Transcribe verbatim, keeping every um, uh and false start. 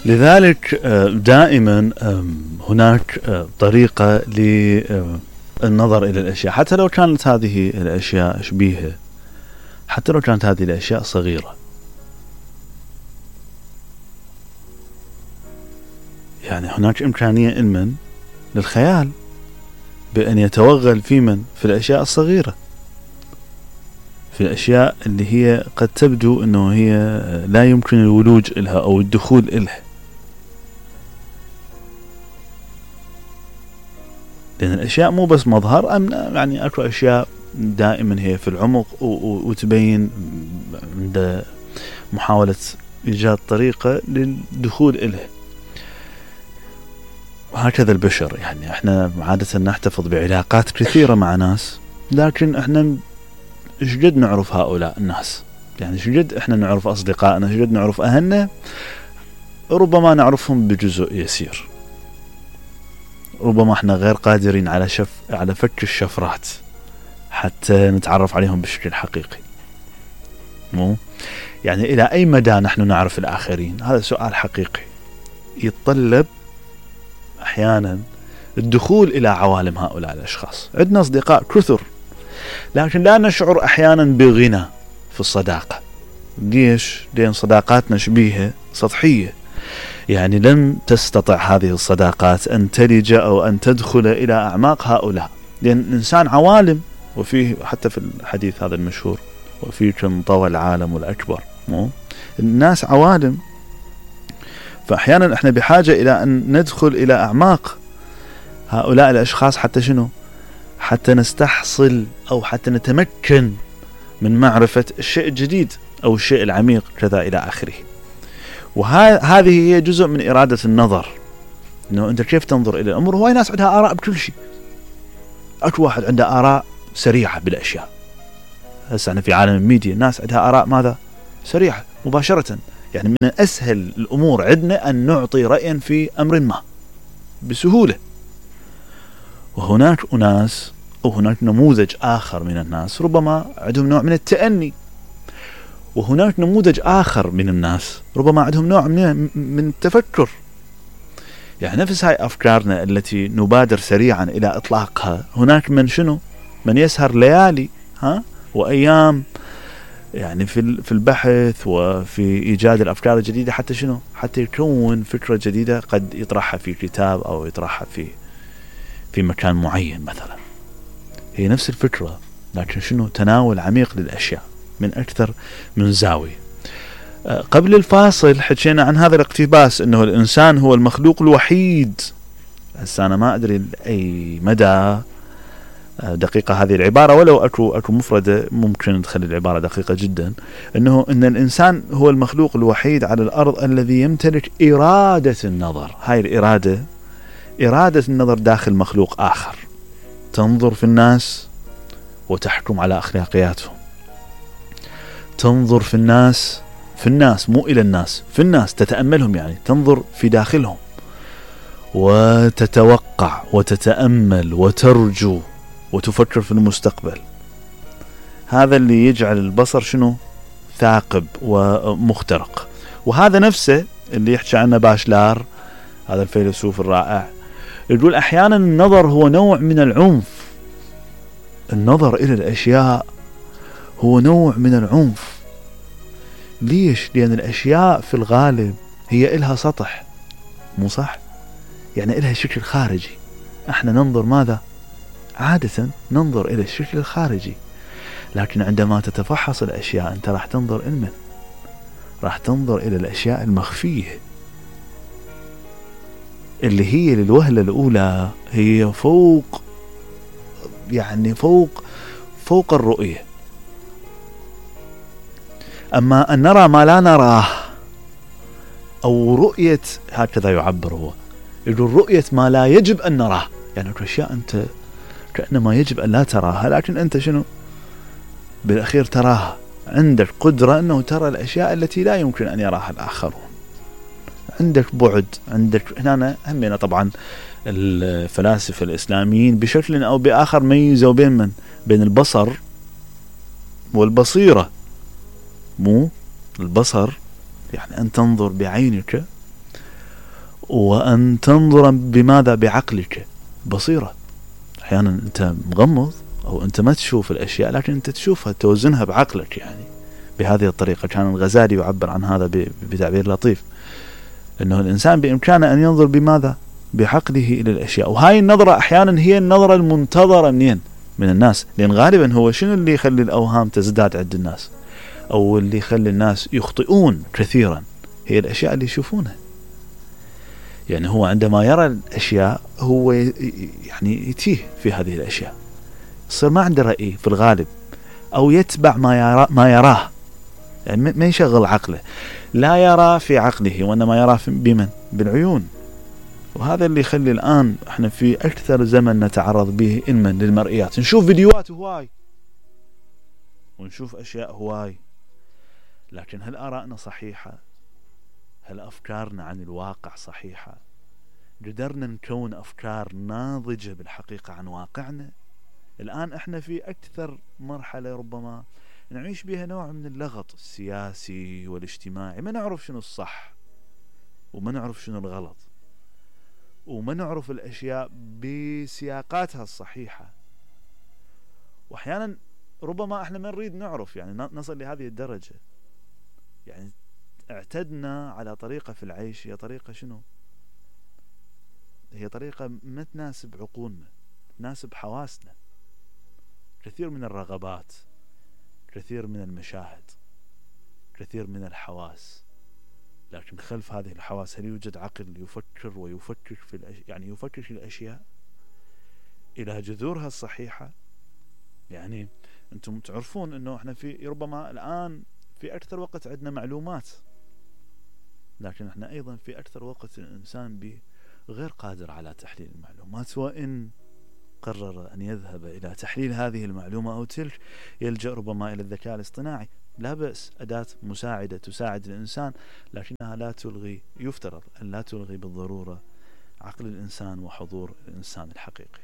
لذلك دائما هناك طريقة للنظر إلى الأشياء، حتى لو كانت هذه الأشياء شبيهة، حتى لو كانت هذه الأشياء صغيرة. يعني هناك إمكانية لمن للخيال بأن يتوغل في من في الأشياء الصغيرة، في الأشياء اللي هي قد تبدو أنه هي لا يمكن الولوج إلها أو الدخول إلها، لأن الأشياء مو بس مظهر، أم يعني أكو أشياء دائما هي في العمق وتبين عند محاولة إيجاد طريقة للدخول إلها. وهكذا البشر، يعني احنا عادة نحتفظ بعلاقات كثيرة مع ناس، لكن احنا شجد نعرف هؤلاء الناس، يعني شجد احنا نعرف أصدقائنا، شجد نعرف أهلنا، ربما نعرفهم بجزء يسير، ربما احنا غير قادرين على شف على فك الشفرات حتى نتعرف عليهم بشكل حقيقي. مو يعني إلى أي مدى نحن نعرف الآخرين؟ هذا سؤال حقيقي يتطلب أحيانا الدخول إلى عوالم هؤلاء الأشخاص. عندنا أصدقاء كثر، لكن لا نشعر أحيانا بغنى في الصداقة. ليش؟ لأن صداقاتنا شبيهة سطحية، يعني لن تستطيع هذه الصداقات أن تلج أو أن تدخل إلى أعماق هؤلاء، لأن الإنسان عوالم، وفيه حتى في الحديث هذا المشهور وفيه كم طوى العالم الأكبر، مو الناس عوالم. فأحيانا احنا بحاجة إلى أن ندخل إلى أعماق هؤلاء الأشخاص حتى شنو؟ حتى نستحصل أو حتى نتمكن من معرفة الشيء الجديد أو الشيء العميق كذا إلى آخره. وهذه هي جزء من إرادة النظر، إنه أنت كيف تنظر إلى الأمور. هواي ناس عندها آراء بكل شيء، أكو واحد عنده آراء سريعة بالأشياء. هسه أنا في عالم الميديا ناس عندها آراء ماذا؟ سريعة مباشرة، يعني من أسهل الأمور عندنا أن نعطي رأيا في أمر ما بسهولة. وهناك أناس أو هناك نموذج آخر من الناس ربما عندهم نوع من التأني، وهناك نموذج آخر من الناس ربما عندهم نوع من من التفكر. يعني نفس هاي أفكارنا التي نبادر سريعا إلى إطلاقها، هناك من شنو؟ من يسهر ليالي ها وأيام يعني في في البحث وفي إيجاد الأفكار الجديدة، حتى شنو؟ حتى يكون فكرة جديدة قد يطرحها في كتاب أو يطرحها في في مكان معين مثلا. هي نفس الفكرة، لكن شنو؟ تناول عميق للأشياء من أكثر من زاوية. قبل الفاصل حكينا عن هذا الاقتباس، أنه الإنسان هو المخلوق الوحيد. هسه أنا ما أدري أي مدى دقيقة هذه العبارة، ولو أكو أكو مفردة ممكن تخلي العبارة دقيقة جدا، أنه أن الإنسان هو المخلوق الوحيد على الأرض الذي يمتلك إرادة النظر. هاي الإرادة إرادة النظر داخل مخلوق آخر، تنظر في الناس وتحكم على أخلاقياتهم، تنظر في الناس في الناس مو إلى الناس، في الناس تتأملهم، يعني تنظر في داخلهم وتتوقع وتتأمل وترجو وتفكر في المستقبل. هذا اللي يجعل البصر شنو؟ ثاقب ومخترق. وهذا نفسه اللي يحكي عنه باشلار، هذا الفيلسوف الرائع، يقول أحيانا النظر هو نوع من العنف. النظر إلى الأشياء هو نوع من العنف. ليش؟ لأن الأشياء في الغالب هي إلها سطح، مو صح؟ يعني إلها شكل خارجي. احنا ننظر ماذا؟ عادة ننظر إلى الشكل الخارجي، لكن عندما تتفحص الأشياء أنت راح تنظر إلى من؟ راح تنظر إلى الأشياء المخفية اللي هي للوهلة الأولى هي فوق، يعني فوق فوق الرؤية. أما أن نرى ما لا نراه، أو رؤية، هكذا يعبر هو، يقول رؤية ما لا يجب أن نراه. يعني أشياء أنت كأنما يجب أن لا تراها، لكن أنت شنو بالأخير تراها. عندك قدرة أنه ترى الأشياء التي لا يمكن أن يراها الآخرون. عندك بعد، عندك هنا همنا طبعا الفلاسفة الإسلاميين بشكل أو بآخر ميزوا بين من؟ بين البصر والبصيرة. مو البصر يعني أن تنظر بعينك وأن تنظر بماذا؟ بعقلك. بصيرة. أحيانا أنت مغمض أو أنت ما تشوف الأشياء، لكن أنت تشوفها، توزنها بعقلك. يعني بهذه الطريقة كان الغزالي يعبر عن هذا بتعبير لطيف، أنه الإنسان بإمكانه أن ينظر بماذا؟ بعقله إلى الأشياء. وهاي النظرة أحيانا هي النظرة المنتظرة منين؟ من الناس. لأن غالبا هو شنو اللي يخلي الأوهام تزداد عند الناس أو اللي يخلي الناس يخطئون كثيرا؟ هي الأشياء اللي يشوفونها. يعني هو عندما يرى الأشياء هو يعني يتيه في هذه الأشياء، يصير ما عنده رأي في الغالب، أو يتبع ما يرى ما يراه، يعني ما يشغل عقله، لا يرى في عقله وإنما يرى بمن؟ بالعيون. وهذا اللي يخلي الآن احنا في أكثر زمن نتعرض به إلما للمرئيات، نشوف فيديوهات هواي ونشوف أشياء هواي، لكن هل آرائنا صحيحة؟ هل أفكارنا عن الواقع صحيحة؟ قدرنا نكون أفكار ناضجة بالحقيقة عن واقعنا؟ الآن احنا في أكثر مرحلة ربما نعيش بها نوع من اللغط السياسي والاجتماعي، ما نعرف شنو الصح وما نعرف شنو الغلط، وما نعرف الأشياء بسياقاتها الصحيحة. وأحيانا ربما احنا ما نريد نعرف، يعني نصل لهذه الدرجة. يعني اعتدنا على طريقة في العيش، هي طريقة شنو؟ هي طريقة ما تناسب عقولنا، تناسب حواسنا. كثير من الرغبات، كثير من المشاهد، كثير من الحواس، لكن خلف هذه الحواس هل يوجد عقل يفكر ويفكر في الأشياء؟ يعني يفكر في الأشياء إلى جذورها الصحيحة. يعني أنتم تعرفون أنه احنا في ربما الآن في أكثر وقت عندنا معلومات، لكن احنا أيضا في أكثر وقت الإنسان غير قادر على تحليل المعلومات، وإن قرر أن يذهب إلى تحليل هذه المعلومة أو تلك يلجأ ربما إلى الذكاء الاصطناعي. لا بأس، أداة مساعدة تساعد الإنسان، لكنها لا تلغي، يفترض أن لا تلغي بالضرورة عقل الإنسان وحضور الإنسان الحقيقي.